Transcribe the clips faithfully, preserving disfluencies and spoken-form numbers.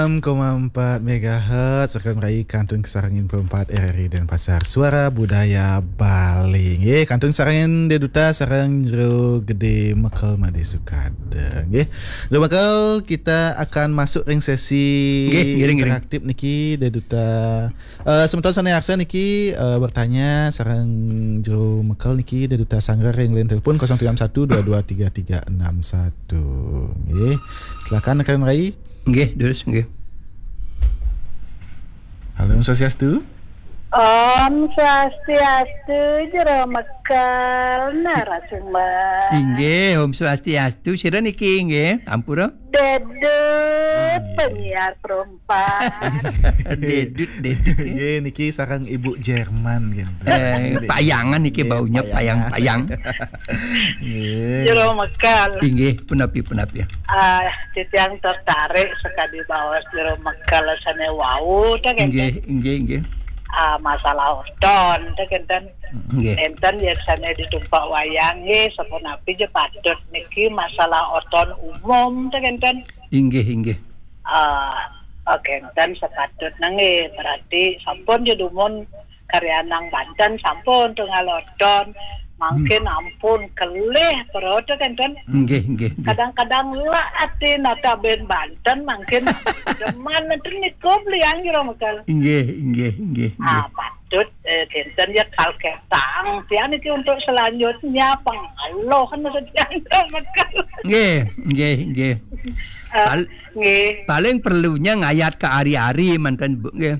Enam koma empat megahertz, Rakam Rai, Kantun Kasarengin Perempat, R R I Denpasar, Suara Budaya Bali. Nggih, kantun sareng Dek Duta sareng Jero Gede Mekel Made Sukada. Nggih. Jero Mekel, kita akan masuk ring sesi Nggih, ngiring, ngiring. Interaktif niki, Dek Duta. Eh, semeton sane arsa niki, eh, bertanya sareng Jero Mekel niki, Dek Duta Sanggar ring line telepon kosong tiga enam satu dua dua tiga tiga enam satu. Nggih. Silakan Rakam Rai. Nggih, terus nggih. Halo, Om Swastiastu. Om Swastiastu, Jero Mekel, narasumber. Inggih, Om Swastiastu. Sira niki nggih, ampura. Dedut, Iya. Penyiar perempat. Dedut, dedut. Nggih, niki sareng Ibu Jerman gitu. Eh, Nggih. Payangan niki Nggih, baunya payang-payang. Nggih. Jero Mekel. Inggih, punapi, punapi. Ah, titiang tertarik sekali baos Jero Mekel sane wau, teh, kenten. Nggih, nggih, nggih. Ah, masalah oton, teh, kenten. Nggih. Enten biasanya ditumpak wayang, nggih, sapunapi ja patut niki masalah oton umum, teh, kenten. Inggih, inggih. Ah, oke, kenten sepatutnya, nggih, berarti sampun ja dumun karyanang Banten, sampun tunggal oton, mangkin Hmm. ampun kelih perut, kenten. Nggih, nggih, nggih. Kadang-kadang lah ati nata ben Banten, mangkin demen enten niku belian Jero Mekel. Inggih, inggih, inggih, Ah, inggih. Patut, eh, kenten ya kal ketang. Tiang niki untuk selanjutnya pengaloh kan maksud tiang Jero Mekel. Nggih, nggih, nggih. Eh, Pal-, nggih. Paling perlunya ngayat ke ari-ari manten, Bu, nggih.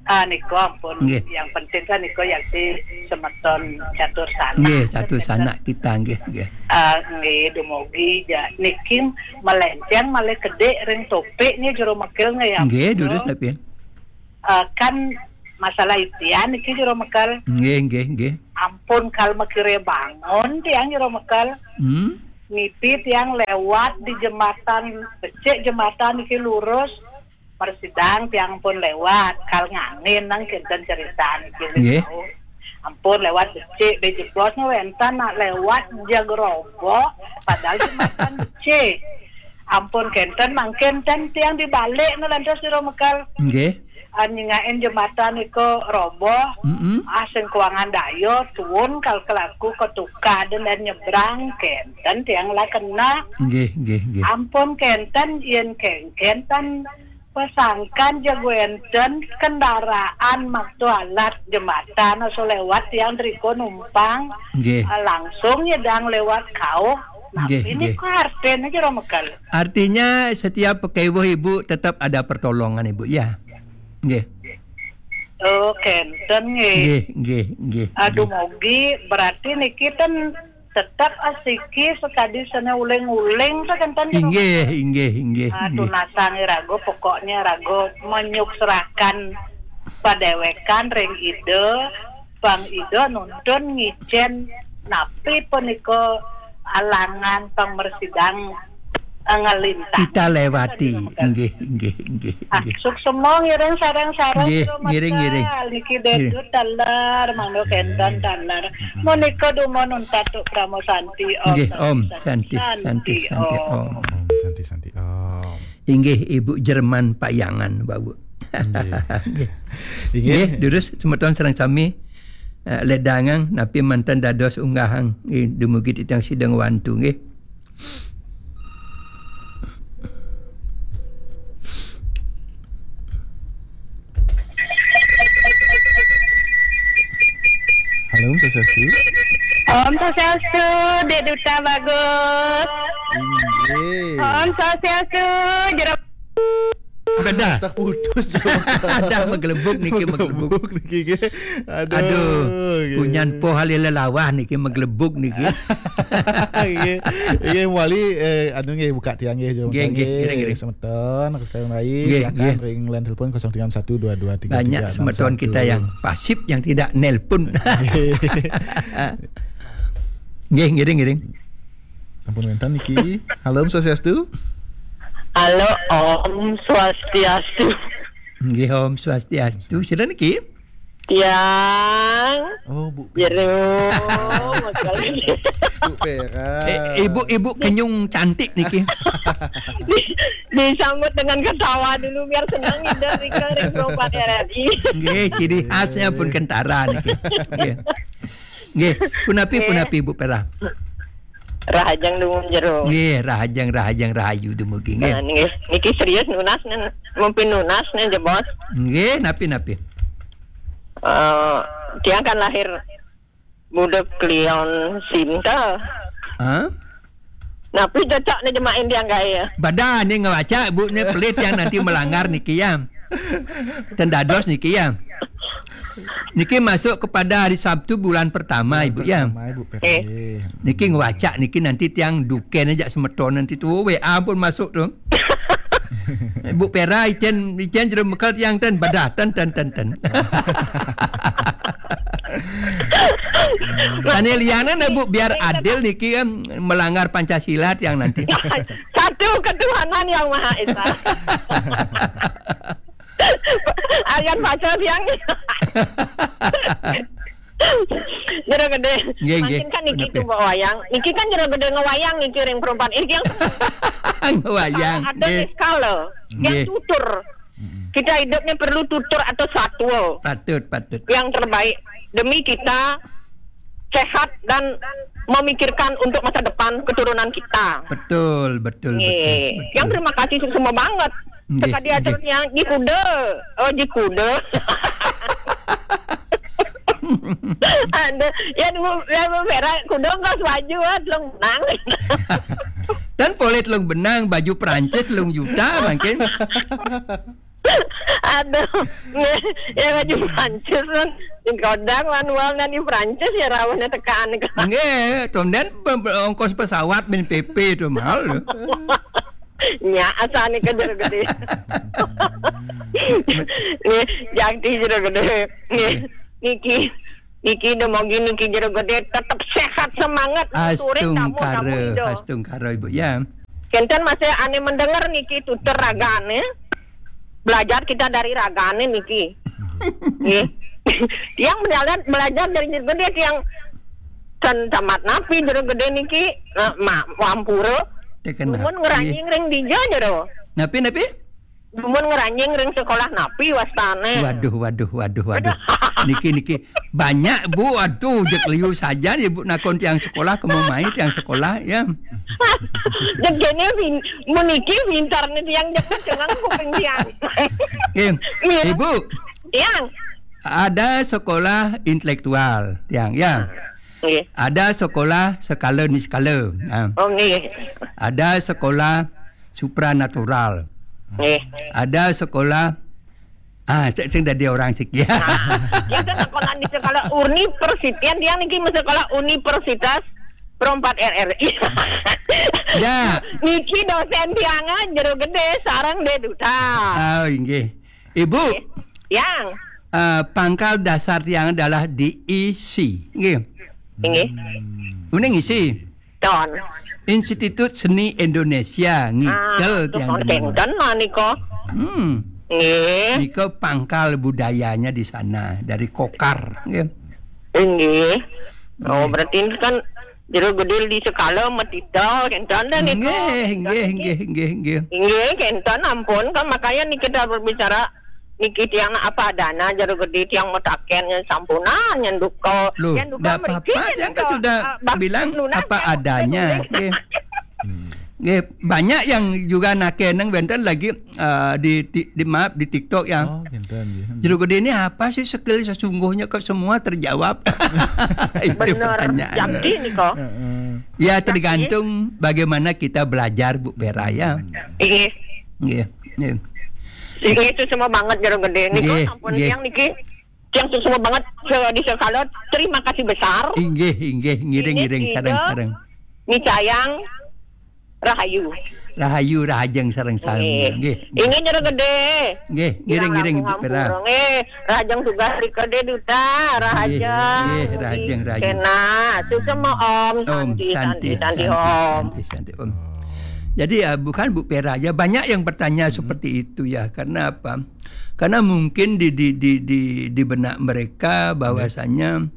Ah, niku ampun. Nggih. Yang penting kan niku yakti semeton catur sanak. Nggih, catur sanak kita, nggih, nggih. Ah, nggih, dumugi ja. Niki melenceng malih kedik ring topik nggih, Jero Mekel nggih ya. Nggih, durus tapi. Ah, kan masalah itian niki, Jero Mekel. Nggih, nggih, nggih. Ampun kal makire bangun tiang, Jero Mekel. Hmm. Nipi tiang lewat di jembatan, becik jembatan niki lurus, persidang tiang pun lewat, kal ngangin nang kenten cerita niki. Nggih. Ampun lewat becik, be jebos nu wenten nak lewat jag roboh, padahal jembatan becik. Ampun kenten mangkin ten tiang dibalik nu lantas Jero Mekel. Nggih. Ah, nyingakin jembatan iko roboh, Mm-mm. ah, sing kuangan daya, tuun kal kelaku ketukad dan nyebrang kenten tiang lah kena. Nggih, nggih, nggih. Ampun kenten, yen kengken tan pesangkan jago enten kendaraan maktu alat jembatan aso lewat tiang driko numpang, Nggih. ah, langsung nyedang lewat kauh. Nah, Nggih, ini nggih. Ku artine Jero Mekel. Artinya setiap pakewuh Ibu tetap ada pertolongan Ibu ya. Nggih. Oh, kenten nggih. Nggih, nggih, nggih, Aduh, nggih. Mogi berarti niki ten tetap asiki sekadi sene uling-uling to kenten. Inggih, inggih, inggih, Aduh, nggih. Nasang rago pokoknya rago menyukserakan padewekan ring Ida, pang Ida nuntun ngicen napi punika alangan pang mresidang, eh, ngelintas. Kita lewati. Nggih, nggih, nggih, Ah, nggih. Suksema ngiring sareng-sareng Nggih, Jero ngiring, Mekel. Ngiring. Niki Ngiring. Dedut taler, mangga Nggih. Kenten taler. Mm-mm. Menika dumun untatuk Parama Santi. Om Nggih, Santi, Om Santi, Santi, Santi, Santi, Om. Om. Om Santi, Santi, Om. Inggih, Ibu Jerman Payangan, Bapak. Nggih. Nggih. Nggih. Nggih, durus semeton sareng sami, eh, ledangang napi manten dados unggahang, nggih, dumugi titiang sida ngwantu, nggih. Halo, Om Swastiastu. Om Swastiastu, Dek Duta Bagus. Inggih. Om Swastiastu, Jero- Bedah. Terputus, Jero. Ada menggelebuk niki, menggelebuk. Menggelebuk niki, nggih. Aduh, Aduh, nggih. Punyan poh halil lelawah niki, menggelebuk niki. Nggih. Nggih, Wali, eh, anu nggih, buka tiang nggih, Jero Nggih, Mekel nggih, nggih. Ngiring, ngiring. Semeton, Rakam Rai, Nggih, silakan nggih. Ring line telepon kosong tiga enam satu dua dua tiga tiga enam satu. Banyak semeton kita yang pasif, yang tidak nelpon. Nggih. Nggih, ngiring, ngiring. Ampun wenten niki. Halo, Om Swastiastu. Halo, Om Swastiastu. Nggih, Om Swastiastu. Sira niki? Tiang. Oh, Bu Pera. Jero, makanya. Bu Pera. Eh, ibu-ibu kenyung cantik niki. Di-, disambut dengan ketawa dulu biar senang, Ida Rika ring Pro empat R R I. Nggih, ciri khasnya pun kentara niki. Nggih. Nggih, punapi, nggih, punapi, Bu Pera? Rahajeng dumun jero. Nggih, rahajeng, rahajeng, rahayu dumugi, nggih. Nah, nggih. Niki serius nunas nen, mungkin nunas nen jebos. Nggih, napi, napi? Eh, tiang kan lahir budek klion sinta. Hah? Napi cocok nih jemain tiang gaya? Badan nih ngebaca, Bu, nih pelit yang nanti melanggar niki ya. Dan dados niki ya. Niki masuk kepada hari Sabtu bulan pertama, bulan Ibu ya. Pertama, Ibu Pera. Eh. Niki ngewacak niki nanti tiang duken aja semeton nanti tuh W A pun masuk tuh. Ibu Pera, icen, icen jero mekel tiang ten, badah, ten, ten, ten, ten. Sane liane, Bu, biar adil niki kan melanggar Pancasila tiang nanti. Satu ketuhanan yang Maha Esa. Ayan baca tiang. Jero gede. Nggih, nggih. Mangkin kan niki tuh wayang. Niki kan jero gede ngewayang niki ring perempuan. Ini yang ngewayang. Ada nggih, skala. Yang nggih, tutur. Mm-mm. Kita hidupnya perlu tutur atau satwa. Patut, patut. Yang terbaik demi kita sehat dan memikirkan untuk masa depan keturunan kita. Betul, betul, betul, betul. Yang terima kasih semua banget. Nggih, sekali nggih, aturnya, "Ji kuda." Oh, ji kuda. Ada, ya, dulu, ya, dulu merah, kuda nggak selaju, ah, telung benang. Dan poleh telung benang, baju Prancis telung juta, mungkin. Aduh, ya, baju Prancis, kan. Di kodang, manual, dan di Prancis, ya, rawuhnya tekan. Nggih, kemudian pe-, pe-, ongkos pesawat, min P P itu mahal, loh. Nya, asane ke jero gede. Nih, jati jero gede. Nih, niki, niki demogi niki jero gede tetep sehat semangat. Astungkara, astungkara, Ibu, ya. Kenten masih ane mendengar niki tutur ragane. Belajar kita dari ragane niki. Nggih. Yang belajar, belajar dari jero gede yang ten tamat napi jero gede niki, eh, ma-, wampura. Tekena. Dumun ngeranying ring dija jero. Napi, napi? Dumun ngeranying ring sekolah napi wastane. Waduh, waduh, waduh, waduh. Niki, niki. Banyak, Bu. Aduh, jek liu saja ya, Bu, nakon tiang sekolah, kemo mai tiang sekolah, ya. Jek kene pin-, meniki pintar nih tiang jek cengang kuping tiang. Eh, Ibu. Tiang. Ada sekolah intelektual, tiang, ya. Nggih. Ada sekolah skala niskala. Nah. Oh, nggih. Ada sekolah supranatural. Nggih. Ada sekolah, ah, sing, sing dadi orang sik ya. Nah, kita sekolah di sekolah universitas, yang niki sekolah Universitas Pro empat R R I. Ya. Niki dosen tiang jero gede sareng De Duta. Oh, inggih. Ibu. Nggih. Yang. Eh, pangkal dasar tiang adalah D I C. Nggih. Nggih. Uning isi. Ton. Institut Seni Indonesia, ngikel. Ah, tiang tuh demen. Kenten lah niko. Hmm. Nggih. Niko pangkal budayanya di sana, dari Kokar, nggih. Nggih. Oh, nggih, berarti ini kan jero gede di sekala metita, kenten dah niko. Nggih, nggih, nggih, nggih, nggih. Nggih, kenten ampun, kan makanya nih kita berbicara niki tiang apa adanya, jero gede tiang metaken yang sampunan, yang duka. Loh, yang duka ndak mriki apa-apa, yang tiang kan duka, sudah ah, bak bilang lunas apa yang adanya. Nggih. Hmm. Nggih, banyak yang juga nakeneng wenten lagi, eh, di, di, di, maaf, di TikTok ya. Oh, kenten, nggih. Hmm. Jero gede ini apa sih skill sesungguhnya kok semua terjawab? Itu bener, pertanyaan. Jati nih kok. Heeh. Ya, jati, tergantung bagaimana kita belajar, Bu Pera, ya. Hmm. Iya. Nggih, nggih. Nggih, suksma banget jero gede. Niki nggih, sampun nggih, tiang niki. Tiang suksma banget se-, di sekala. Terima kasih besar. Inggih, inggih, ngiring, ngiring, sareng, sareng. Micayang rahayu. Rahayu, rahajeng, sareng, sareng. Nggih. Nggih. Inggih jero gede. Nggih, ngiring, ngiring, Ibu Pera. Nggih, rahajeng tugas rika De Duta, rahajeng. Nggih, nggih, rahajeng, rahajeng. Kena, suksma Om. Om, santi, santi, santi, santi, Om. Santi, santi, Om. Jadi, uh, bukan Bu Pera aja, banyak yang bertanya seperti itu ya. Karena apa? Karena mungkin di di di di, di benak mereka bahwasanya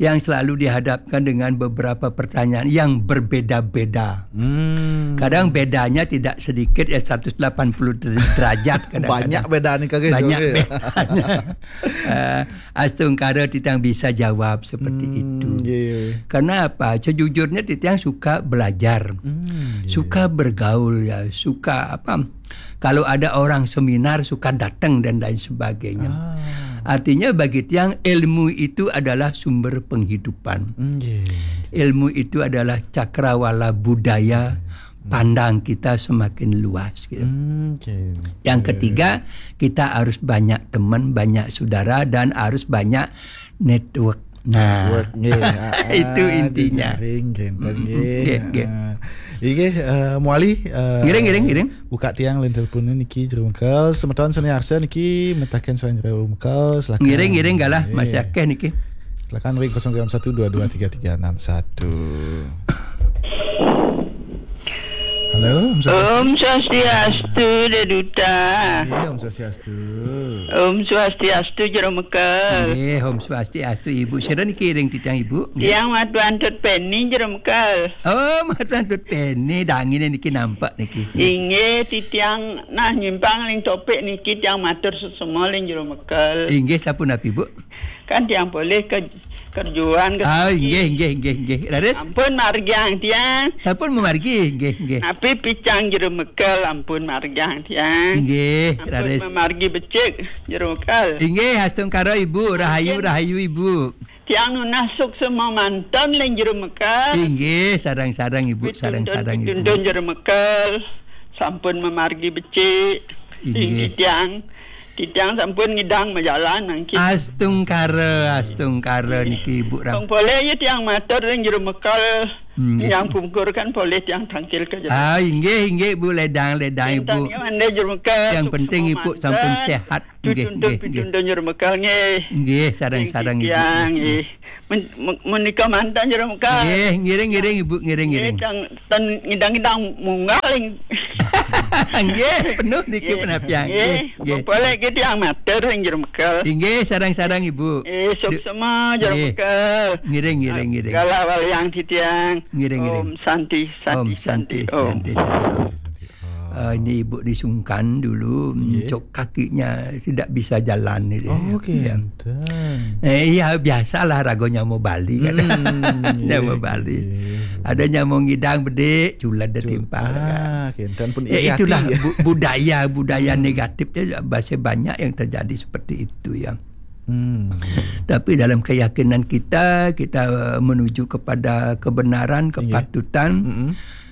yang selalu dihadapkan dengan beberapa pertanyaan yang berbeda-beda. Hmm. Kadang bedanya tidak sedikit ya, seratus delapan puluh derajat kadang-kadang. Banyak beda nih kagak Banyak jawabnya. Bedanya. Eh, Astungkara titiang bisa jawab seperti Hmm, itu. Iya. Karena apa? Sejujurnya titiang suka belajar, Hmm, iya. Suka bergaul ya, suka apa? Kalau ada orang seminar suka datang dan lain sebagainya. Ah. Artinya bagi tiang ilmu itu adalah sumber penghidupan. Hmm, iya. Ilmu itu adalah cakrawala budaya, pandang kita semakin luas gitu. Hmm, iya. Yang ketiga, kita harus banyak teman, banyak saudara, dan harus banyak network. Nah, Network, nggih. Ah, Itu intinya. Jejaring, genten, Mm-mm, nggih. nggih, nggih. Ah. Inggih, eh, Muali, eh, Ngiring, ngiring, ngiring. Buka tiang line telepon niki Jero Mekel. Semeton sane arsa niki metaken sareng Jero Mekel, silakan. Ngiring-ngiring galah Nggih. masih akeh niki. Silakan ring kosong satu dua dua tiga tiga enam satu. Halo, Om Swastiastu. Om Swastiastu, Deduta. Iya, Om Swastiastu. Om Swastiastu, Jero Mekel. Nggih, Om Swastiastu Ibu. Sira niki ring titiang Ibu. Nggih. Tiang Matuantut Peni, Jero Mekel. Oh, Matuantut Peni, dangine niki nampak niki. Inggih, titiang nah nyimpang ling topik niki tiang matur sesama ling Jero Mekel. Inggih, sapunapi Bu? Kan tiang polih ke kerjuan ke Ah, inggih, inggih, inggih, inggih. Raris? Ampun margiang tiang. Sampun mamargi, inggih, inggih. Napi picang Jero Mekel ampun margiang tiang. Inggih, Ampun raris. Mamargi becik Jero Mekel. Inggih, astungkara Ibu, rahayu, rahayu Ibu. Tiang nunas suksma manten ling Jero Mekel. Inggih, sareng-sareng Ibu, sareng-sareng Ibu. Pituntun Jero Mekel. Sampun mamargi becik. Inggih. Inggih tiang. Titiang sampun ngidang majalan mangkin. Astungkara, astungkara niki Ibu Ram. Wong polih ya tiang matur ring Jero Mekel. Hmm, Yang nggih. Pungkur kan polih tiang tangkil ke Jero. Ah, inggih, inggih Bu, ledang, ledang Ibu. Yang mande Jero Mekel. Yang penting Ibu sampun sehat. Nggih, Pituntun, nggih, nggih. Pituntun Jero Mekel nggih. Nggih, sareng-sareng Ibu. Tiang nggih. Men- men- menika manten Jero Mekel. Nggih, ngiring-ngiring Ibu, ngiring-ngiring. Nggih, tang ten ngidang-ngidang munggah ling. Nggih, penuh niki penapian. Nggih, nggih. Boleh ke tiang matur ring Jero Mekel. Inggih, sareng-sareng Ibu. Eh, suksma Jero Nggih. Mekel. Ngiring, ngiring, ngiring. Galah waliang titiang. Ngiring, ngiring. Om Santi, Santi, Om Santi, Om. Santi, Santi. Eh, ini Ibu disungkan dulu, Nggih. cok kakinya tidak bisa jalan ini. Oh, Ya. genten. Eh, iya, biasalah raga nyama Bali kan. Hmm, Nyama iya, Bali. iya. Ada nyama ngidang bedik, culan dia Cul- timpal. Ah, genten pun Ya, iya itulah hati, ya. bu- budaya budaya negatifnya masih banyak yang terjadi seperti itu ya. Hmm. Tapi dalam keyakinan kita, kita menuju kepada kebenaran, Iya. kepatutan, Mm-mm.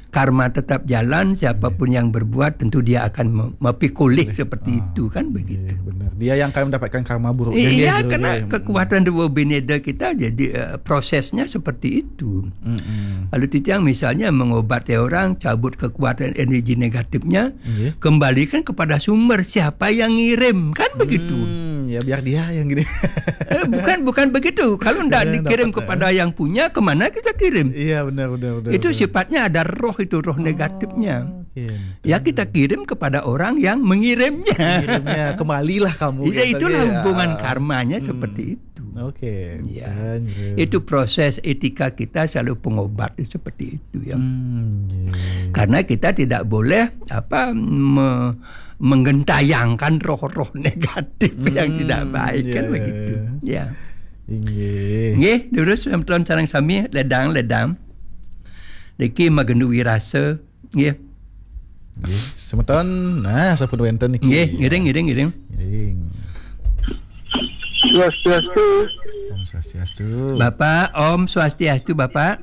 karma tetap jalan. Siapapun yang berbuat, tentu dia akan me- mapikulih seperti Ah, itu kan begitu. Iya, benar. Dia yang akan mendapatkan karma buruk. Iya, Gitu, karena ya. kekuatan Dewa Bineda kita jadi eh, prosesnya seperti itu. Mm-mm. Lalu titiang misalnya mengobati orang, cabut kekuatan energi negatifnya, Iya. kembalikan kepada sumber siapa yang ngirim, kan begitu. Hmm, ya biar dia yang gini. Eh, bukan bukan begitu. Kalau tidak Dia dikirim dapat, kepada yang punya, kemana kita kirim? Iya, benar, benar, benar. Itu Benar. Sifatnya ada roh itu, roh negatifnya. Oh, oke. Ya, kita kirim kepada orang yang mengirimnya. Kirimnya kembalilah kamu. Ya, gitu, itulah ya. hubungan Ah, karmanya hmm. Seperti itu. Oke. Ya. Dan, ya. Itu proses etika kita selalu pengobat seperti itu ya. Hmm, iya. Karena kita tidak boleh apa me- menggentayangkan roh-roh negatif yang Hmm, tidak baik kan iya, begitu. iya. Ya. Inggih. Nggih, terus semeton sareng sami ledang-ledang. Niki magendu wirasa, nggih. Nggih, semeton. Nah, sampun wenten niki. Nggih, ngiring ngiring ngiring. Ngiring. Swastiastu. Om Swastiastu. Bapak, Om Swastiastu, Bapak.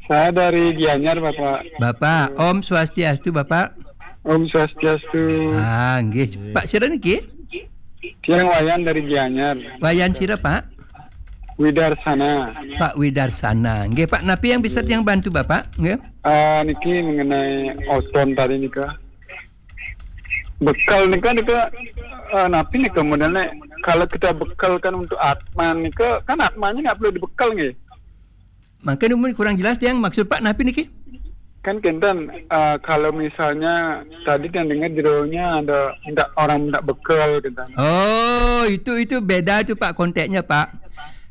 Saya dari Gianyar, Bapak. Bapak, Om Swastiastu, Bapak. Om Swastiastu. Ah, nggih. Pak sira niki? Tiang Wayan dari Gianyar. Wayan sira, Pak? Widarsana. Pak Widarsana. Nggih, Pak, napi yang bisa tiang bantu, Bapak? Nggih. Ah, niki mengenai ozon tadi nika. Bekal nika nika ah, napi nika modelnya kalau kita bekalkan untuk atma nika kan atmanya nggak perlu dibekal nggih. Mangkin umur kurang jelas tiang maksud Pak napi niki? Kan kenten, eh, kalau misalnya tadi kan dengar jeronya ada minta orang minta bekal kenten. Oh, itu itu beda itu Pak konteksnya Pak.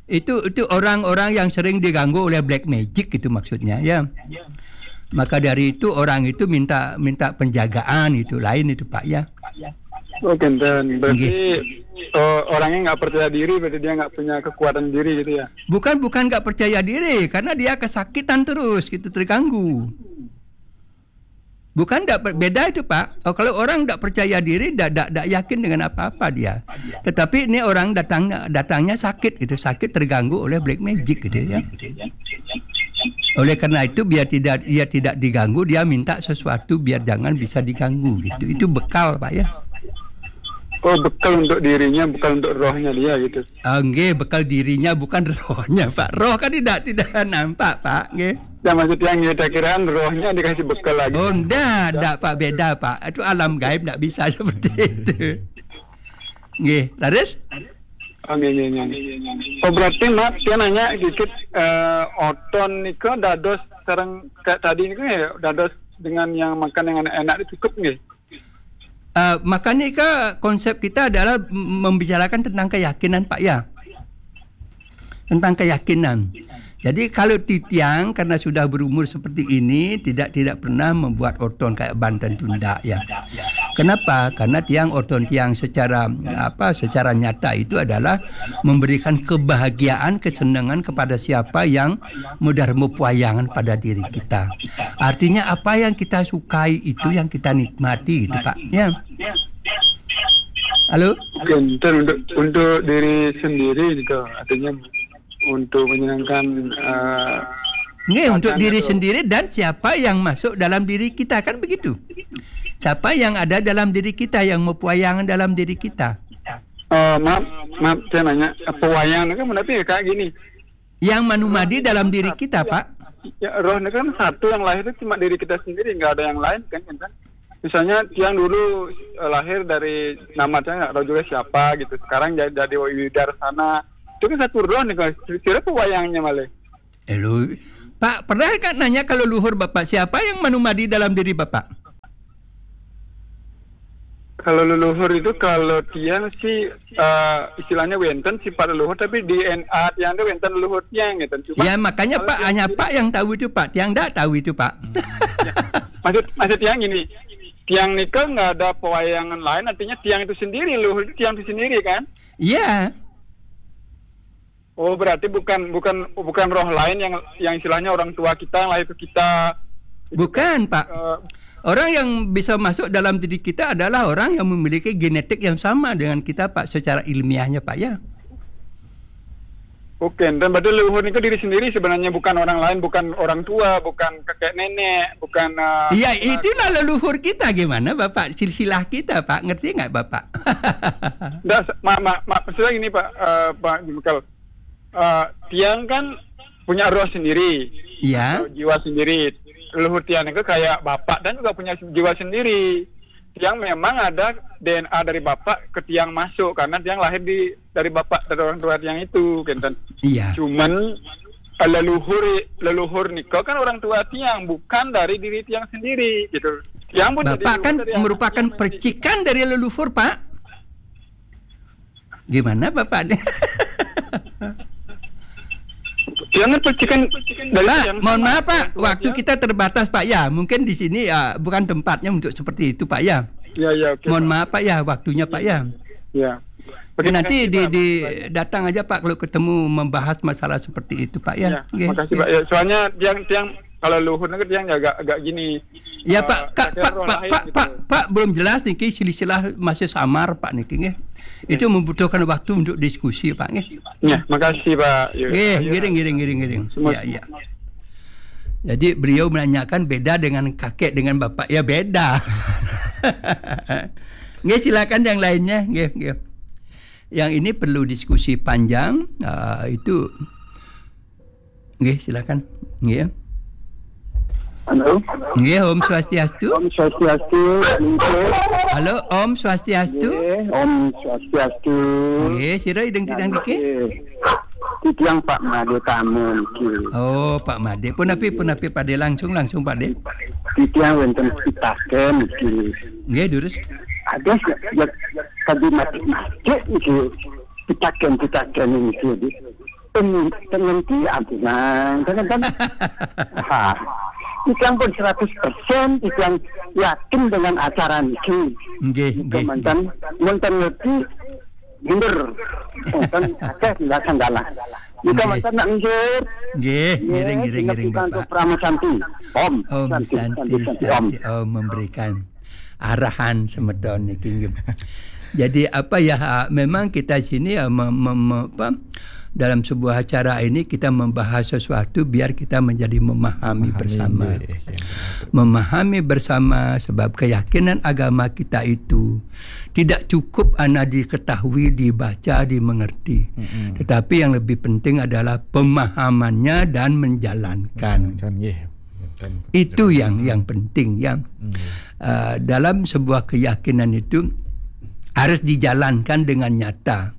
Itu itu orang-orang yang sering diganggu oleh black magic gitu maksudnya ya. Maka dari itu orang itu minta minta penjagaan itu lain itu Pak ya. Oh, kenten. Berarti eh, orangnya nggak percaya diri, berarti dia nggak punya kekuatan diri gitu ya. Bukan bukan nggak percaya diri karena dia kesakitan terus gitu terganggu. Bukan tidak beda itu Pak. Oh, kalau orang tidak percaya diri, tidak tidak yakin dengan apa-apa dia. Tetapi ini orang datang datangnya sakit gitu, sakit terganggu oleh black magic gitu ya. Oleh karena itu biar tidak ia tidak diganggu, dia minta sesuatu biar jangan bisa diganggu gitu. Itu bekal Pak ya. Oh, bekal untuk dirinya, bekal untuk rohnya dia gitu. Ah, nggih, bekal dirinya bukan rohnya Pak. Roh kan tidak tidak nampak Pak, nggih. Ya maksud yang kita kiraan rohnya dikasih bekal lagi. Oh, ndak, ndak Pak, beda Pak. Itu alam gaib ndak bisa seperti itu. Nggih, laris? Oh, nggih, nggih, nggih. Oh, berarti Mat, dia nanya dikit eh, oton nika dados sareng kayak tadi nika ya dados dengan yang makan yang enak-enak itu cukup nggih? Uh, makanya ke konsep kita adalah membicarakan tentang keyakinan Pak ya. Tentang keyakinan. Jadi kalau titiang karena sudah berumur seperti ini tidak tidak pernah membuat orton kayak Banten Tunda ya. Kenapa? Karena tiang orton tiang secara apa secara nyata itu adalah memberikan kebahagiaan kesenangan kepada siapa yang mudah mepuayangan pada diri kita. Artinya apa yang kita sukai itu yang kita nikmati gitu Pak. Ya. Halo? Oke, untuk untuk diri sendiri gitu. Artinya untuk menyenangkan uh, Nggih, untuk diri itu sendiri dan siapa yang masuk dalam diri kita kan begitu. Siapa yang ada dalam diri kita yang mepuayangan dalam diri kita. Uh, maaf, maaf saya nanya, pewayangan itu kan berarti ya kayak gini. Yang manumadi dalam diri kita, Pak. Ya, roh ini kan satu yang lahir itu cuma diri kita sendiri, nggak ada yang lain kan, kan? Misalnya tiang dulu eh, lahir dari nama saya nggak tahu juga siapa gitu. Sekarang jadi jadi Widarsana. Itu kan satu roh nih kan. Kira apa wayangnya malah? Elu, Pak, pernah kan nanya kalau luhur Bapak siapa yang manumadi dalam diri Bapak? Kalau leluhur itu kalau tiang sih uh, istilahnya wenten sifat leluhur tapi D N A tiang itu wenten leluhur tiang gitu. Cuma ya makanya Pak hanya Pak yang tahu itu Pak, tiang tidak tahu itu Pak. Ya, maksud maksud tiang gini, tiang nikah nggak ada pewayangan lain artinya tiang itu sendiri leluhur itu tiang itu sendiri kan? Iya. Oh berarti bukan bukan bukan roh lain yang yang istilahnya orang tua kita yang lahir ke kita. Bukan Pak. Uh, Orang yang bisa masuk dalam diri kita adalah orang yang memiliki genetik yang sama dengan kita, Pak, secara ilmiahnya, Pak, ya. Oke, dan berarti leluhur itu diri sendiri sebenarnya bukan orang lain, bukan orang tua, bukan kakek nenek, bukan. Uh, iya, itulah leluhur kita gimana, Bapak? Silsilah kita, Pak. Ngerti nggak, Bapak? Nggak, maaf, maaf, maaf, maksudnya ini, Pak, uh, Pak Jumkal. Uh, tiang kan punya roh sendiri, iya. Jiwa sendiri. Leluhur tiang itu kayak bapak dan juga punya jiwa sendiri. Tiang memang ada D N A dari bapak ke tiang masuk karena tiang lahir di dari bapak dari orang tua tiang itu, kenten. Iya. Cuman eh, leluhur leluhur niko kan orang tua tiang bukan dari diri tiang sendiri gitu. Tiang pun bapak kan merupakan percikan dari leluhur Pak. Gimana Bapak nih? Jangan percikan dari Pak, mohon maaf Pak, waktu kita terbatas Pak ya. Mungkin di sini ya bukan tempatnya untuk seperti itu Pak ya. Ya ya oke. Mohon maaf Pak ya waktunya Pak ya. Ya. Oke, nanti di, di datang aja Pak kalau ketemu membahas masalah seperti itu Pak ya. Ya, oke. Makasih Pak. Ya, soalnya tiang tiang kalau luhur negeri tiang agak agak gini. Ya uh, Pak, Kak, Pak, Pak, Pak, gitu. Pak, Pak belum jelas nih silsilah masih samar Pak niki nggih. Itu membutuhkan waktu untuk diskusi Pak nggih. Ya, makasih Pak. Nggih, ngiring ngiring ngiring ngiring. Ya ya. Jadi beliau menanyakan beda dengan kakek dengan bapak. Ya beda. Nggih silakan yang lainnya. Nggih, nggih. Yang ini perlu diskusi panjang. Uh, itu Nggih, silakan. Nggih. Halo. Nggih, Om Swastiastu. Om Swastiastu. Halo, Om Swastiastu. Nggih, Om Swastiastu. Nggih, sira ideng tidang dike? Titiang Pak Made Tama niki. Oh, Pak Made. Punapi, punapi Pak De, langsung, langsung Pak De. Titiang wénten pitaken niki. Nggih, durus. Ada ya, ya, tadi mati-mati niki. Pitaken-pitaken niki. Ten-, ten ngerti ampun, jangan kan? Ha. Titiang pun seratus persen, titiang yakin dengan acara niki. Nggih, nggih. Manten, manten ngerti, bener. Manten akeh sanggala. Nggih. Manten nak nggih. Nggih, ngiring, ngiring, ngiring, Bapak. Prama Santi. Om. Om Santi, Santi, Santi, Santi, Om. Santi, Om memberikan arahan semeton niki, nggih. Jadi apa ya, ha, memang kita sini ya mem-, mem-, apa, dalam sebuah acara ini kita membahas sesuatu biar kita menjadi memahami bersama. Nggih, iya, betul. Memahami bersama sebab keyakinan agama kita itu tidak cukup hanya diketahui, dibaca, dimengerti. Mm-mm. Tetapi yang lebih penting adalah pemahamannya dan menjalankan. Menjalankan, nggih. Itu yang, yang penting, ya. Hmm. Eh, dalam sebuah keyakinan itu harus dijalankan dengan nyata.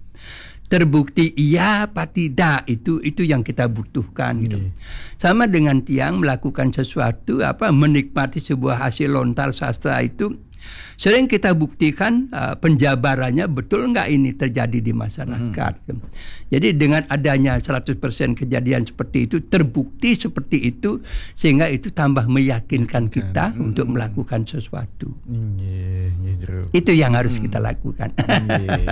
Terbukti iya apa tidak, itu, itu yang kita butuhkan, gitu. Iya. Sama dengan tiang melakukan sesuatu, apa, menikmati sebuah hasil lontar sastra itu, sering kita buktikan, eh, penjabarannya betul nggak ini terjadi di masyarakat. Hmm. Jadi dengan adanya seratus persen kejadian seperti itu, terbukti seperti itu, sehingga itu tambah meyakinkan kita untuk melakukan sesuatu. Nggih, nggih, jero. Itu yang harus kita lakukan. Nggih.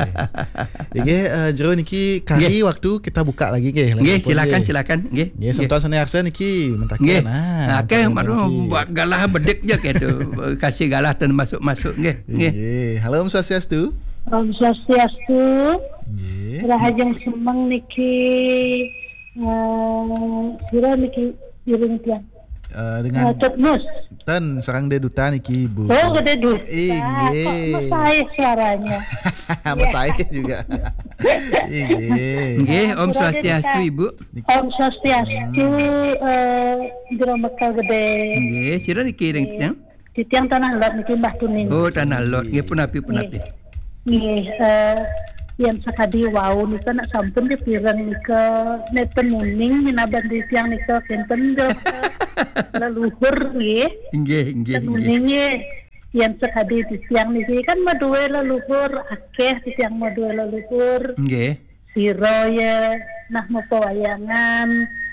Nggih, eh, jero niki kari waktu kita buka lagi nggih. Nggih, silakan, silakan. Nggih. Nggih, semeton sane arsa niki mentaken. Nggih. Nah, akeh mano buat galah bedik je gitu. Kasih galah dan masuk-masuk nggih. Nggih. Nggih. Halo, Om Swastiastu. Om Swastiastu. Nggih. Rahajeng semeng niki, eh, sira niki iring tiang. Eh, dengan Cut Mus. Ten sareng Dé Duta niki, Bu. Oh, Gedé Duta. Inggih. Kok mesai suaranya? Mesai juga. Inggih. Nggih, Om Swastiastu, Ibu. Om Swastiastu, eh, Jero Mekel Gedé. Nggih, sira niki ring tiang? Titiang Tanah Lot niki, Mbah Tuning. Oh, Tanah Lot. Nggih, punapi, punapi. Nggih, eh, yen sakadi wau nika nak sampun dipireng nika, neten uning minaban titiang nika kinten jero leluhur nggih. Nggih, nggih, nggih. Ten uning nggih. Yen sakadi titiang niki kan madué leluhur, akeh titiang madué leluhur. Nggih. Sira ya nah mapawayangan.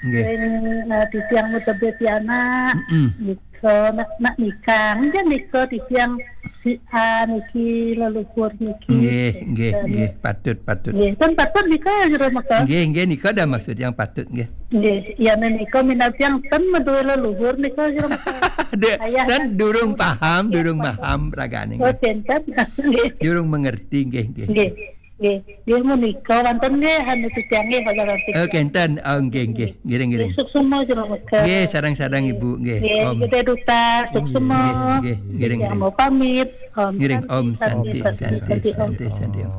Nggih. Sing, eh, titiang mutebé pianak. Mm-mm. Nika nak, nak nikang, jan nika titiang si A niki leluhur niki. Nggih, nggih, nggih, patut, patut. Nggih, pun patut nika Jero Mekel. Nggih, nggih, nika dah maksud yang patut nggih. Nggih, ya menika minab yang ten madué leluhur nika Jero Mekel. Dé-, ayah ten kan durung paham, durung paham ragane. Oh, nggih. Ten, ten. Nggih. Durung mengerti nggih, nggih. Nggih. Nggih, nggih menika wonten nggih anu titiang nggih, Pak Jalantik. Oh, kenten. Oh, nggih, nggih. Ngiring, ngiring. Nggih, suksma Jero Mekel. Nggih, sareng-sareng Ibu, nggih. Nggih, Om. Gedé Duta, suksma. Nggih, nggih, ngiring, ngiring. Mau pamit. Om Santi, Om Santi, Santi, Santi, Santi, Om. Santi, Santi, Om.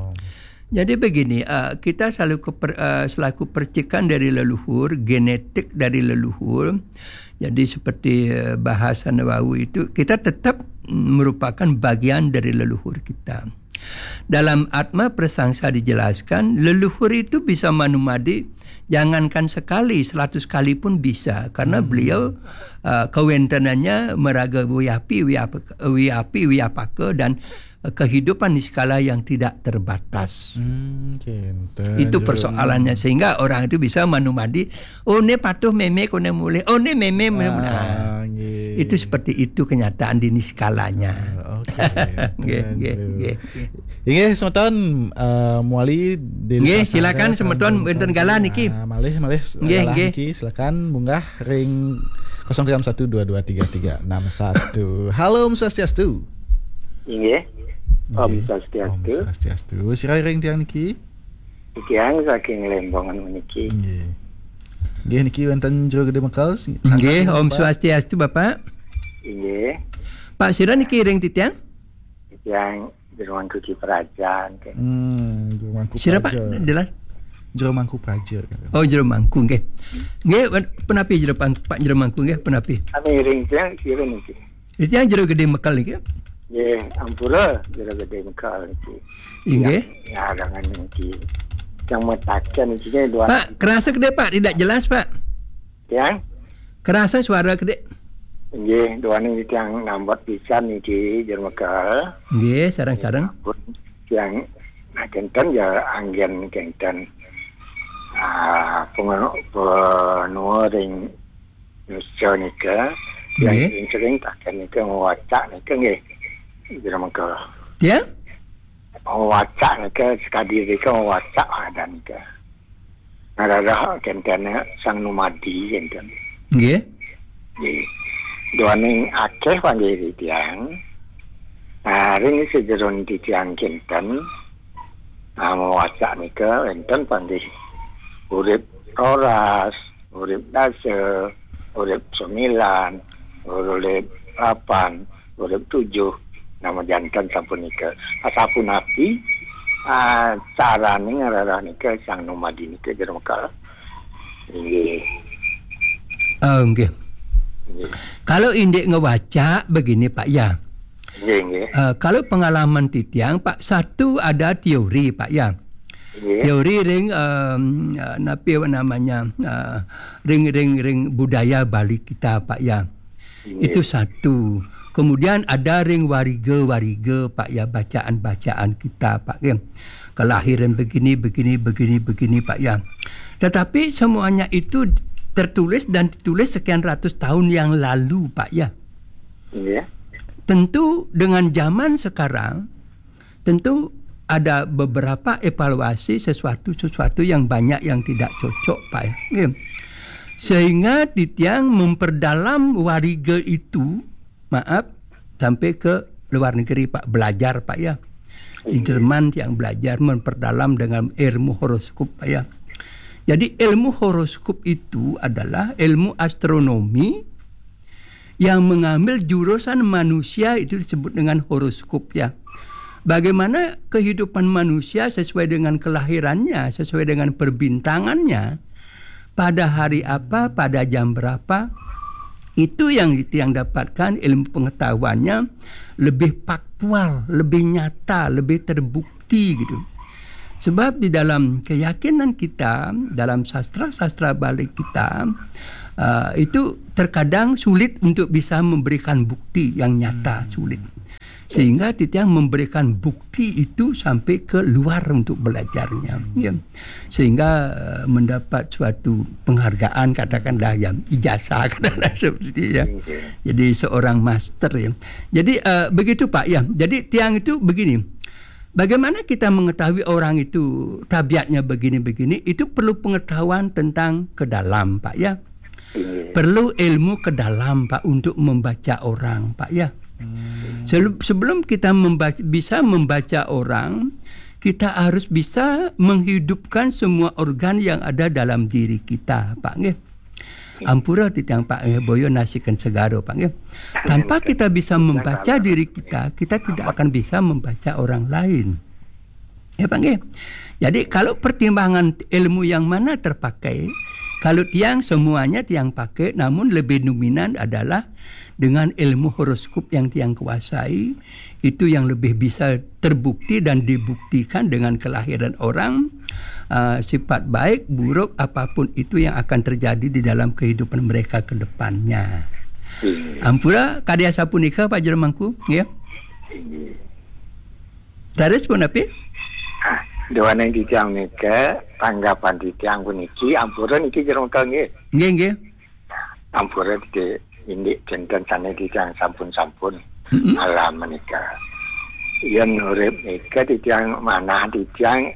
Jadi begini, eh, kita selalu keper-, eh, selaku percikan dari leluhur, genetik dari leluhur. Jadi seperti, eh, bahasa Nawawi itu, kita tetap merupakan bagian dari leluhur kita. Dalam Atma Prasangsa dijelaskan, leluhur itu bisa manumadi, jangankan sekali, seratus kali pun bisa, karena beliau, eh, kawéntenannya maraga wiyapi, wiyap-, wiyapi, wiyapaka, dan, eh, kehidupan niskala yang tidak terbatas. Hmm, kinten, itu jero. Persoalannya, sehingga orang itu bisa manumadi, "Oh, ini patuh mémé, koné mulih. Oh, ini mémé, mémé." Ah, nah, nggih. Itu seperti itu kenyataan di niskalanya. Ah, oke. Nggih, nggih, nggih. Inggih, semeton, eh, mewali di. Nggih, silakan semeton wénten galah niki. Ah, malih, malih nggih, galah nggih. Niki, silakan munggah ring kosong tiga satu dua dua tiga tiga enam satu. Halo, Om Swastiastu. Inggih. Nggih. Om Swastiastu. Om Swastiastu. Sira ring tiang niki? Tiang saking Lembongan meniki. Nggih. Nggih, niki wénten Jero Gedé Mekel, si-, nggih, sangat Om Bapak. Swastiastu, Bapak. Inggih. Pak, sira niki ring titiang? Titiang Jero Mangku Ki Praja, nggih. Hmm, Jero Mangku Praja. Sira, Pak? Dilan? Jero Mangku Praja. Oh, Jero Mangku, nggih. Nggih, wan-, punapi Jero Pang-, Pak Jero Mangku, nggih, punapi? Kami ring tiang, sira niki. Titiang Jero Gedé Mekel niki? Nggih, ampura Jero Gedé Mekel niki. Inggih. Yang, yang arangan niki. Yang mataken iki dua. Pak, kerasa kedek, Pak? Tidak jelas, Pak. Ya? Kerasa suara kedek? Nggih, duaning titiang nambet pisan niki, Jero Mekel. Nggih, sareng-sareng. Ampun, yang nah, kenten ya anggen kenten. Ah, pengen-, penuh ring nusa nika, yang Nggih. sering-sering taken nika, ngwacak nika nggih. Jero Mekel. Ya? Ngwacak nika, sekadi nika ngwacak ada nika. Ngararah kenten Sang Numadi kenten. Nggih. Nggih. Duaning akeh panggih titiang. Nah, ring sajeroning titiang kenten. Nah, ngwacak nika wenten panggih. Urip roras, urip dasa, urip sembilan, urip lapan, urip tujuh. Nama janten sapunika. Asapunapi, ah, carane ngararah nika Sang Numadi nika, Jero Mekel. Nggih. Oh, nggih. Nggih. Kalau indik ngewacak begini, Pak, ya. Nggih, nggih. Eh, kalau pengalaman titiang, Pak, satu ada teori, Pak, ya. Nggih. Teori ring, em, eh, napi namanya, eh, ring, ring, ring budaya Bali kita, Pak, ya. Nggih. Itu satu. Kemudian ada ring wariga-wariga, Pak, ya, bacaan-bacaan kita, Pak, ya. Kelahiran begini, begini, begini, begini, Pak, ya. Tetapi semuanya itu tertulis dan ditulis sekian ratus tahun yang lalu, Pak, ya. Iya. Tentu dengan zaman sekarang, tentu ada beberapa evaluasi sesuatu-sesuatu yang banyak yang tidak cocok, Pak, ya. Nggih. Sehingga titiang memperdalam wariga itu, maaf, sampai ke luar negeri, Pak, belajar, Pak, ya. Di Iya. Jerman tiang belajar memperdalam dengan ilmu horoskop, Pak, ya. Jadi ilmu horoskop itu adalah ilmu astronomi yang mengambil jurusan manusia itu disebut dengan horoskop, ya. Bagaimana kehidupan manusia sesuai dengan kelahirannya, sesuai dengan perbintangannya, pada hari apa, pada jam berapa, itu yang yang dapatkan ilmu pengetahuannya lebih faktual, lebih nyata, lebih terbukti gitu. Sebab di dalam keyakinan kita, dalam sastra-sastra Bali kita, uh, itu terkadang sulit untuk bisa memberikan bukti yang nyata, sulit. Sehingga titiang memberikan bukti itu sampai ke luar untuk belajarnya, ya. Sehingga, uh, mendapat suatu penghargaan, katakanlah, ya, ijazah, katakanlah seperti, ya. Jadi seorang master, ya. Jadi, uh, begitu, Pak, ya. Jadi tiang itu begini. Bagaimana kita mengetahui orang itu tabiatnya begini-begini? Itu perlu pengetahuan tentang ke dalam, Pak, ya. Iya. Perlu ilmu ke dalam, Pak, untuk membaca orang, Pak, ya. Hmm. Selu-, sebelum kita membaca, bisa membaca orang, kita harus bisa menghidupkan semua organ yang ada dalam diri kita, Pak, nggih. Ampura titiang, Pak, nggih, boyo nasikan segaro, Pak, nggih. Tanpa kita bisa membaca diri kita, kita tidak akan bisa membaca orang lain. Ya, Pak, nggih. Jadi, kalau pertimbangan ilmu yang mana terpakai, kalau tiang semuanya tiang pakai, namun lebih dominan adalah dengan ilmu horoskop yang tiang kuasai, itu yang lebih bisa terbukti dan dibuktikan dengan kelahiran orang, uh, sifat baik, buruk, apapun itu yang akan terjadi di dalam kehidupan mereka ke depannya. Iya. Ampura, kadi asapunika, Pak Jero Mangku, ya. Iya. Dados punapi? Ah, duaning titiang nika, tanggapan titiang puniki, ampura niki Jero Mekel nggih. Nggih, nggih. Ampura niki indik kenten sane titiang sampun-sampun Mm-mm. alam menika. Yen urip nika titiang manah titiang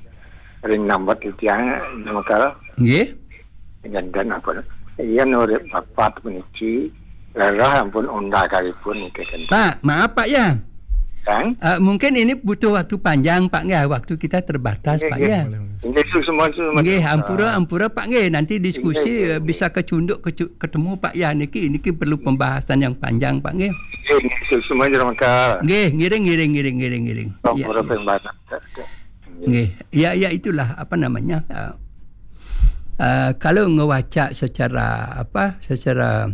ring nambet titiang Jero Mekel. Nggih. Janten apa? Yen urip papat puniki, rerah ampun undang kalipun niki kenten. Pak, maaf, Pak, ya. Kang? Eh, mungkin ini butuh waktu panjang, Pak, nggih. Waktu kita terbatas, Nggih, Pak, nggih. ya. Boleh, boleh. Nggih, suksma, suksma. Nggih, ampura, ampura, Pak, nggih. Nanti diskusi, Nggih, nggih, eh, nggih. bisa kecunduk, kecu-, ketemu, Pak, ya. Niki, niki perlu pembahasan yang panjang, Pak, nggih. Nggih, nggih, suksma, Jero Mekel. Nggih, ngiring, ngiring, ngiring, ngiring, ngiring. Iya, Ampura iya. pembahasan. Nggih. Ya, ya, itulah, apa namanya, eh, eh, kalau ngewacak secara, apa, secara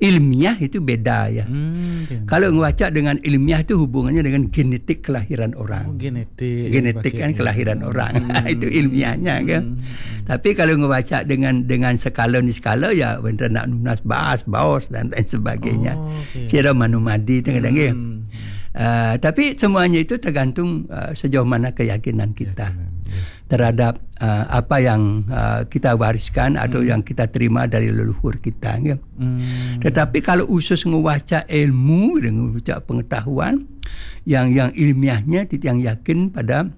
ilmiah itu beda ya. Hmm, okay. Kalau ngewacak dengan ilmiah itu hubungannya dengan genetik kelahiran orang. Oh, genetik. Genetik kan kelahiran orang. Hmm. Itu ilmiahnya kan. Hmm. Tapi kalau ngewacak dengan dengan skala ni skala ya, wénten nak nunas baas, baos dan lain sebagainya. Oh, okay. Sira manumadi tengah hmm. Uh, tapi semuanya itu tergantung uh, sejauh mana keyakinan kita. Keyakinan, ya. Terhadap uh, apa yang uh, kita wariskan atau hmm. yang kita terima dari leluhur kita. Ya. Hmm. Tetapi kalau usus ngewaca ilmu dan ngewaca pengetahuan yang yang ilmiahnya tiang yakin pada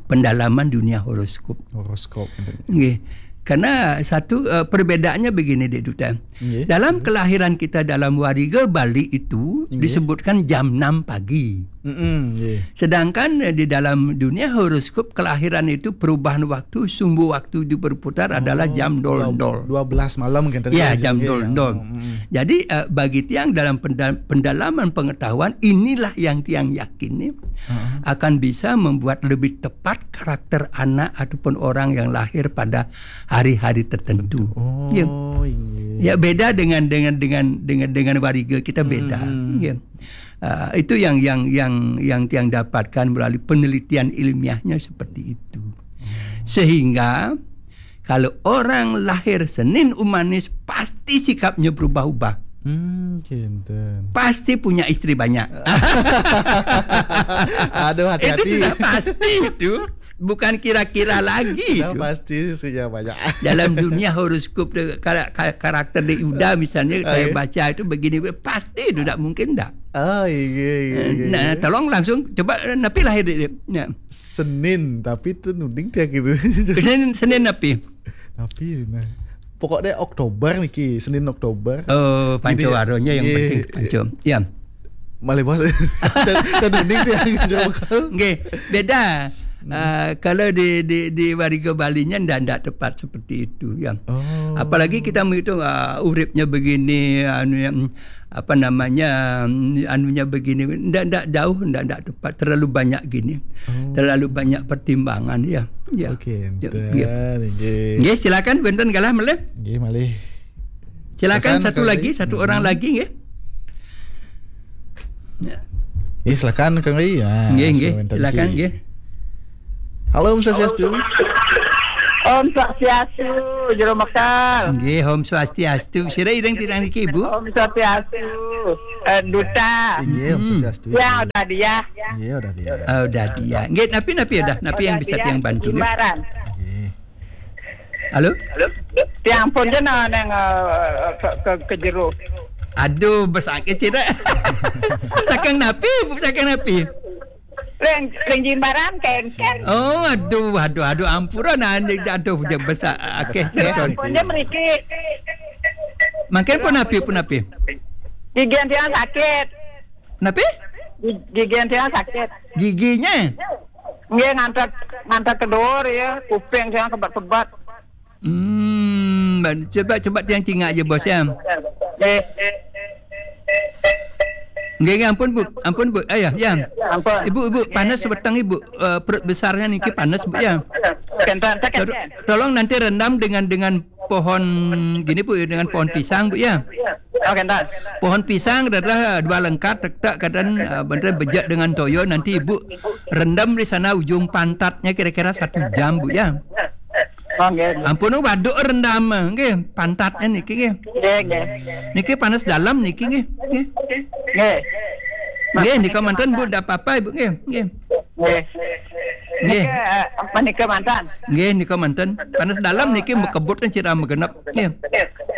pendalaman dunia horoskop. Horoskop. Nggih. Karena satu uh, perbedaannya begini, Dek Duta. Nggih. Dalam kelahiran kita dalam wariga Bali itu nggih. Disebutkan jam enam pagi. Mm-mm, nggih. Sedangkan eh, di dalam dunia horoskop kelahiran itu perubahan waktu, sumbu waktu itu berputar oh, adalah jam dol-dol. Dua belas malam kan tadi. Ya, jam dol-dol. Mm-mm. Jadi uh, bagi tiang dalam pendalaman pengetahuan inilah yang tiang yakin nih uh-huh. akan bisa membuat lebih tepat karakter anak ataupun orang yang lahir pada hari-hari tertentu. Oh, ya. Iya. Ya beda dengan dengan dengan dengan dengan wariga kita beda. Hmm. Ya. Uh, itu yang yang yang yang tiang dapatkan melalui penelitian ilmiahnya seperti itu. Sehingga kalau orang lahir Senin Umanis pasti sikapnya berubah-ubah. Hmm, kinten. Pasti punya istri banyak. Aduh hati-hati. Itu sudah pasti itu. Bukan kira-kira lagi. Sudah pasti istrinya banyak. Dalam dunia horoskop de, karakter di Yuda misalnya oh, saya iya? Baca itu begini pasti itu tidak mungkin tidak. Oh iya iya. Nah, tolong langsung coba napi lahir di. Ya. Senin tapi itu nuding dia gitu. Senin Senin napi. Tapi nah. Pokoknya Oktober niki, Senin Oktober. Oh, panco waronya yang penting panco. Ya. Malih bos. Nggih, beda. Hmm. Uh, kalau di di di wariga Balinya ndak ndak tepat seperti itu ya. Oh. Apalagi kita menghitung uh, uripnya begini anu yang apa namanya anunya begini ndak ndak jauh ndak ndak tepat terlalu banyak gini. Oh. Terlalu banyak pertimbangan ya. Ya. Oke. Ya, ya. Nggih, silakan wénten galah malih. Nggih, malih. Silakan, silakan satu lagi, satu orang lagi nggih. Ya. Nggih, silakan Kang Ri. Ya, nggih, nggih. Silakan nggih. Halo, Om Swastiastu. Om Swastiastu, Jero Mekal. Nggih, Om Swastiastu. Sira ireng titang niki, Bu? Om Swastiastu. Eh, Duta. Nggih, Om Swastiastu. Ya, udah dia. Nggih, udah dia. Oh, udah dia. Nggih, napi napi udah, napi yang bisa tiang bantu nggih. Jimbaran. Nggih. Halo? Ya ampun je nah nang uh, ke, ke, ke jero. Aduh, besakit cita. Saking napi, Bu, saking napi. Leng leng jimbaran kengkeng. Oh, aduh, aduh, aduh, ampura nah aduh je besar akeh. Ya ampun je mriki. Mangkin pun napi, pun napi. Gigi yang sakit. Napi? Gigi yang sakit. Giginya? Nggih ngantek ngantek ke dhuwur ya, kuping saya kebet-kebet. Hmm, coba coba tiang cingak aja bos ya. Nggih. Nggih, nggih, ampun Bu, ampun Bu. Ayo, ya. Ampun. Ibu, Ibu, panas weteng Ibu. Uh, perut besarnya niki panas Bu ya. Kenten, kenten. Tolong nanti rendam dengan dengan pohon gini Bu, dengan pohon pisang Bu ya. Oh, kenten. Pohon pisang adalah dua lengkat tek-tek kadang uh, bener bejak dengan toyo nanti Ibu rendam di sana ujung pantatnya kira-kira satu jam Bu ya. Oh, nggih. Ampun waduk rendam nggih pantatnya niki nggih. Nggih, nggih. Niki panas dalam niki nggih. Nggih. Nggih. Nggih nika manten Bu ndak apa-apa Ibu nggih. Nggih. Nggih. Nggih. Nika uh, menika mantan. Nggih nika manten. Panas dalam niki mekebut kan sira megenep. Nggih.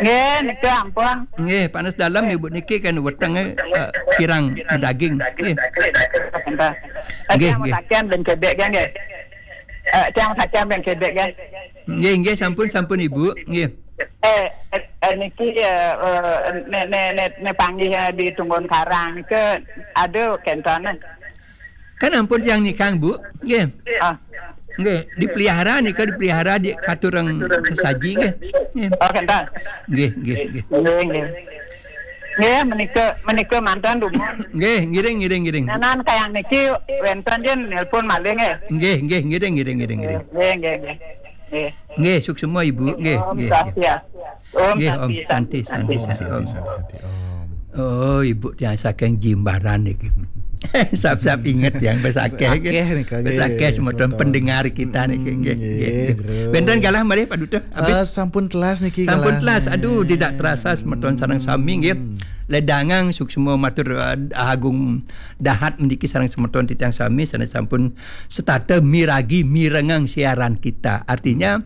Nggih, nika ampun. Nggih, panas dalam Ibu niki kan wetenge uh, kirang daging. Nggih. Nggih, nggih. Sakian ben kedek nggih. Eh, tiang sakian ben kedek nggih. Nggih, nggih sampun sampun Ibu. Nggih. Eh, eh, eh niki ya eh, ne ne ne, ne panggih di Tunggun Karang ke aduh kentana. Kan ampun tiang nikang Bu. Nggih. Ah. Nggih, dipelihara nika dipelihara di katurang sesaji nggih. Nggih. Oh, kenten. Nggih, nggih, nggih. Nggih, nggih. Nggih, menika menika mantan dumun. Nggih, ngiring ngiring ngiring. Nanan kayang niki wenten jen nelpon malih nggih. Nggih, nggih, ngiring ngiring ngiring ngiring. Nggih, nggih, nggih. Nggih. Nggih, suksma Ibu. Nggih, nggih. Swastiastu. Om Nggih, Santi, Om Santi, Santi, Santi, Santi, Santi, Om. Santi, Santi, Om. Oh, ibu tiang saking Jimbaran niki. Sap-sap inget tiang besakeh nggih. Akeh nika, nggih, besakeh semeton pendengar kita niki, nggih, nggih, nggih. Bro. Benten galah malih Pak Duta? Habis? Eh, sampun telas niki. Sampun galah telas. Aduh, tidak terasa semeton sareng sami nggih. Hmm. Ledangang suksma matur, eh, agung dahat meniki sareng semeton titiang sami sanes sampun setata miragi mirengang siaran kita. Artinya,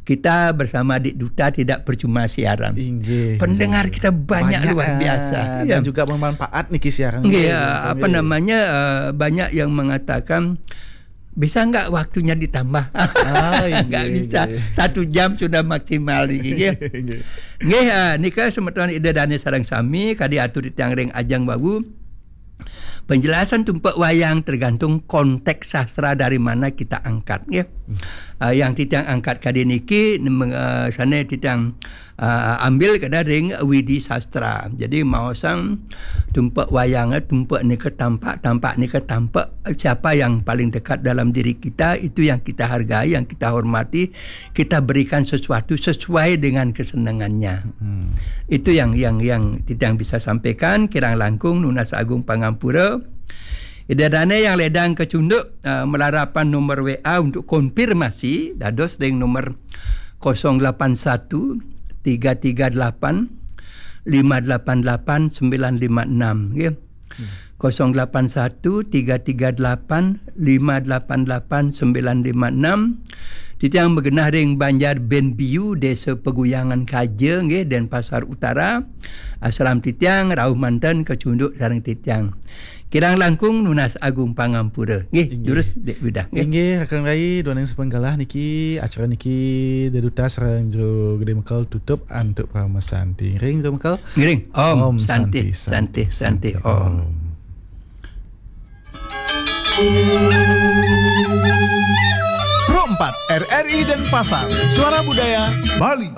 kita bersama Dik Duta tidak percuma siaran. Inggih. Pendengar kita banyak, banyak, luar biasa. Ah, dan juga bermanfaat niki siaran. Inggih, nggih, ya, betul, apa nggih. Namanya, eh, banyak yang mengatakan, "Bisa nggak waktunya ditambah?" Ah, nggak inggih, bisa. Inggih. Satu jam sudah maksimal niki, nggih. Inggih. Nggih, ah, nika semeton Ida Dane sareng sami kadi atur titiang ring ajeng wau. Penjelasan tumpek wayang tergantung konteks sastra dari mana kita angkat, nggih. Hmm. Ah, yang titiang angkat kadi niki, nem-, eh, sane titiang, eh, ambil kada ring Widi Sastra. Jadi, maosang tumpek wayang, eh, tumpek nika tampak, tampak nika tampek. Siapa yang paling dekat dalam diri kita, itu yang kita hargai, yang kita hormati, kita berikan sesuatu sesuai dengan kesenangannya. Hmm. Itu yang, yang, yang titiang bisa sampaikan, kirang langkung nunas agung pangampura. Ida Dane yang ledang kecunduk, eh, malarapan nomor W A untuk konfirmasi, dados ring nomor kosong delapan satu, tiga tiga delapan, lima delapan delapan, sembilan lima enam, nggih. Hmm. Kosong delapan satu, tiga tiga delapan, lima delapan delapan, sembilan lima enam. Titiang magenah ring Banjar Benbiu, Desa Peguyangan Kaja, nggih, Denpasar Utara. Asram titiang rauh manten kecunduk sareng titiang. Kirang langkung nunas agung pangampura. Nggih, inggih. Durus Dik Widah, nggih. Inggih, Kakang Rai, duaning sampun galah niki, acara niki dedutas sareng Jero Gede Mekel tutup antuk parama santi. Ngiring, Jero Mekel. Ngiring. Om Santi, Santi, Santi, Santi, Om. Pro empat, R R I Denpasar, Suara Budaya Bali.